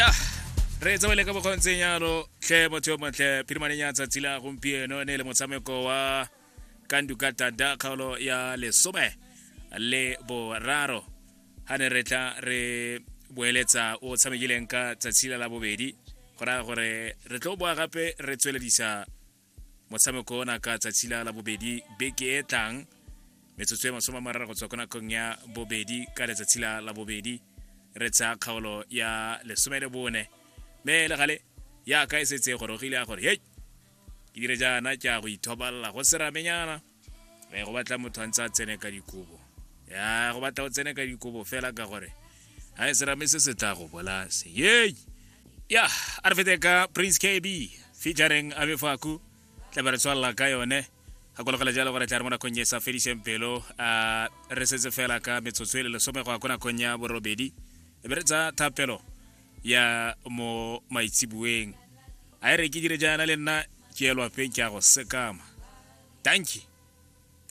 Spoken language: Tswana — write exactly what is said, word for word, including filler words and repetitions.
Ya re tsamaile ka bokgontseng yalo tlhe motho yo montle. Phirimaneng ya tsatsi la gompieno ne e le motshameko wa Kanduka Tanda, kgaolo ya lesome le boraro, ga ne re tla re boeletsa o tshamekileng ka tsatsi la la bobedi. Go raya gore re tlo boa gape re tsweledisa motshameko ona ka tsatsi la la bobedi beke e tlang, metsotso e masome a mararo go tswa ko nakong ya bobedi ka letsatsi la la bobedi, re tsaya kgaolo ya lesome le bone. Mme le gale yaka e setse e gorogile ya gore hei, ke dire jaana, ke a go ithobalela go seramenyana. E go batla motho a ntse a tsene ka dikobo, ya go batla o tsene ka dikobo fela, ka gore ga e serame se se tla go bolase yei. Ya a re fete ka Prince K B featuring Abefaku, tla be re tswalela ka yone. Gakologela jalo gore tla re mo nakong e sa fediseng pelo, a re setse fela ka metsotso e le lesome go ya ko nakong ya borobedi, e be re tsa thapelo ya mo maitsibueng. A e re ke dire jaana, le nna ke elwapeng, ke a go sekama. Dankie.